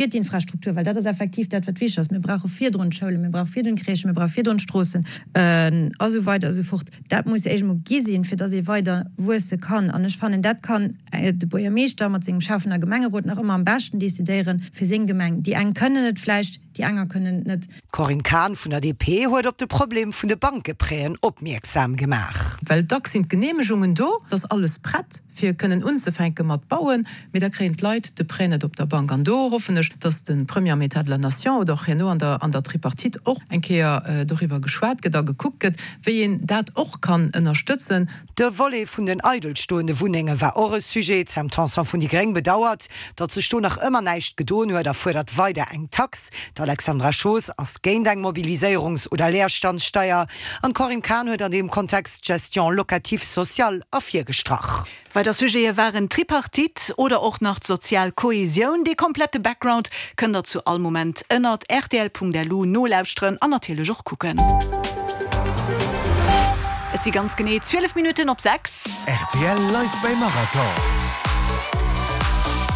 Fir d'Infrastruktur, well dat ass effektiv dat, wat wichteg ass. Mir brauche virdrun d'Schoulen, mir brauche virdrun d'Crèchen, mir brauche virdrun d'Stroossen a sou weider a sou fort. Dat muss jo éischt emol gi sinn, fir dass ee weider wuesse kann. An ech fannen, dat kann de Buergermeeschter mat sengem Schäffen a Gemengerot nach ëmmer am beschten decidéieren fir seng Gemeng. Déi eng kënnen et vläicht, déi aner kënnen et net. D'Corinne Cahen vun der DP huet op de Problem vun de Bankeprêten opmierksam gemaach. Well dacks sinn d'Geneemegungen do, et ass alles prett fir kënnen unzefänke mat bauen, mee da kréien d'Leit de Prêt net op der Bank. An do hoffen ech, datt de Premier am État de la Nation oder och herno an der an der Tripartite och eng Kéier doriwwer geschwat gëtt a gekuckt gëtt, wéi een dat och kann ënnerstëtzen. De Volet vun den eidelstoende Wunnenge war och e Sujet. D'Sam Tanson vun déi Gréng bedauert, datt sech do nach ëmmer näischt gedoen huet a fuerdert weider eng Tax. D'Alexandra Schoos ass géint eng Mobiliséierungs oder Leerstandssteier an d'Corinne Cahen huet an deem Kontext d'Gestion locative sociale ervirgestrach. Weider Sujete waren d'Tripartite oder och nach d'sozial Kohesioun. Dee komplette Background kënnt der zu all Moment ënnert rtl.lu nolauschteren an natierlech och kucken. Et si ganz genee 12 Minutten op 6. Rtl Live beim Marathon.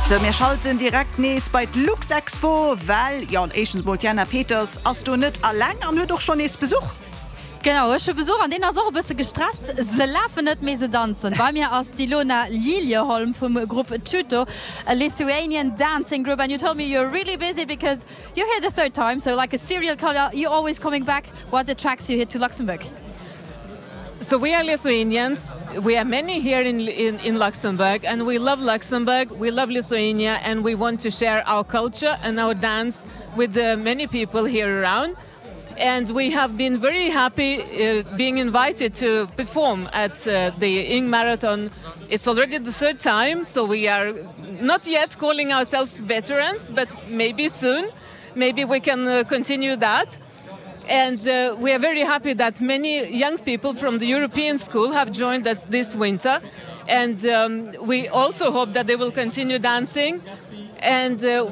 Sou, mir schalten direkt nees bei d'Luxexpo, well, jo, éischtens mol, d'Jana Peters ass do net alleng an huet och schonn nees Besuch. Genau, ech hu Besuch an deen ass och e bësse gestresst. Se lafen net, mee se danzen. Bei mir ass d'Ilona Liljeholm vum Grupp Tuto, a Lithuanian dancing group. And you told me you're really busy because you're here the third time, so like a serial killer, you're always coming back. What attracts you here to Luxembourg? So we are Lithuanians. We are many here in, in, in Luxembourg and we love Luxembourg, we love Lithuania and we want to share our culture and our dance with the many people here around. And we have been very happy uh, being invited to perform at uh, the Ing Marathon. It's already the third time, so we are not yet calling ourselves veterans, but maybe soon. Maybe we can uh, continue that. And uh, we are very happy that many young people from the European school have joined us this winter. And um, we also hope that they will continue dancing. And uh,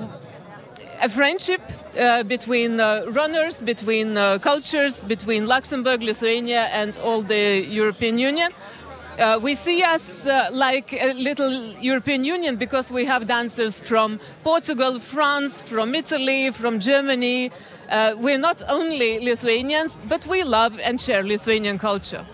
a friendship uh, between uh, runners, between uh, cultures, between Luxembourg, Lithuania and all the European Union. Uh, we see us uh, like a little European Union because we have dancers from Portugal, France, from Italy, from Germany. Uh, we're not only Lithuanians, but we love and share Lithuanian culture.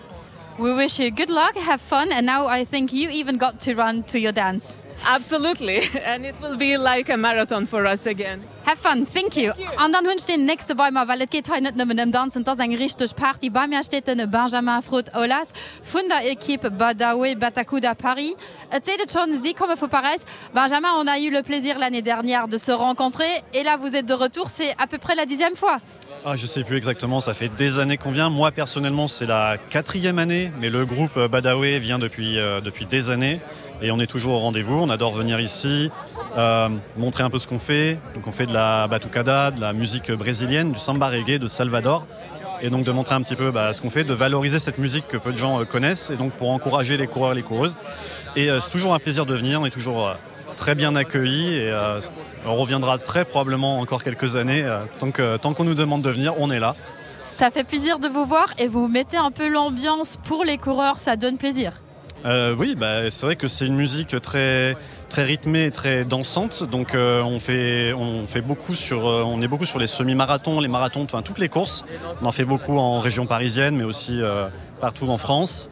We wish you good luck, have fun, and now I think you even got to run to your dance. Absolutely, and it will be like a marathon for us again. Have fun, thank you. An dann hunn ech deen nächste bei mer, well et geet hei net nëmmen ëm Danzen, et ass eng richteg Party. Bei mir steet den Benjamin Frot-Aulas vun der Equipe Badawe Batakuda Paris. Et seet et schonn, si komme vu Paräis. Benjamin, on a eu le plaisir l'année dernière de se rencontrer et là vous êtes de retour, c'est à peu près la dixième fois. Ah, je sais plus exactement, ça fait des années qu'on vient. Moi personnellement c'est la quatrième année, mais le groupe euh, Badawe vient depuis, euh, depuis des années et on est toujours au rendez-vous. On adore venir ici, euh, montrer un peu ce qu'on fait. Donc on fait de la batucada, de la musique brésilienne, du samba reggae de Salvador et donc de montrer un petit peu bah, ce qu'on fait, de valoriser cette musique que peu de gens euh, connaissent et donc pour encourager les coureurs et les coureuses. Et euh, c'est toujours un plaisir de venir, on est toujours euh, très bien accueillis et euh, on reviendra très probablement encore quelques années. Euh, tant que, tant qu'on nous demande de venir, on est là. Ça fait plaisir de vous voir et vous mettez un peu l'ambiance pour les coureurs, ça donne plaisir. Euh, oui, bah, c'est vrai que c'est une musique très, très rythmée et très dansante. Donc euh, on, fait, on, fait beaucoup sur, euh, on est beaucoup sur les semi-marathons, les marathons, enfin toutes les courses. On en fait beaucoup en région parisienne, mais aussi euh, partout en France.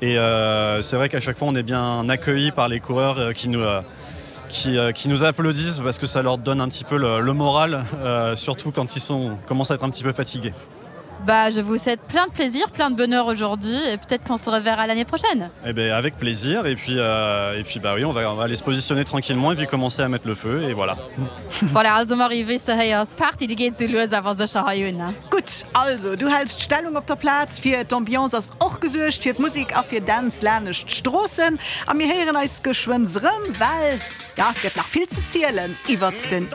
Et euh, c'est vrai qu'à chaque fois on est bien accueilli par les coureurs euh, qui nous, euh, qui, euh, qui nous applaudissent parce que ça leur donne un petit peu le, le moral, euh, surtout quand ils sont, commencent à être un petit peu fatigués. Bah, je vous souhaite plein de plaisir, plein de bonheur aujourd'hui et peut-être qu'on se reverra l'année prochaine. Eh ben, avec plaisir et puis, euh, et puis bah oui, on va, on va aller se positionner tranquillement et puis commencer à mettre le feu et voilà. Voilà, also Marie, wéi s de héiers, d'Party déi geet sou lues awer sécher hei un, ne? Gutt, also du häls d'Stellung op der Plaz, fir d'Ambiance ass och gesuergt, fir d'Musek a fir Dänz lanescht d'Stroossen. A mir héieren eis geschwënn erëm, well, jo, et gëtt nach vill ze zielen iwwert den.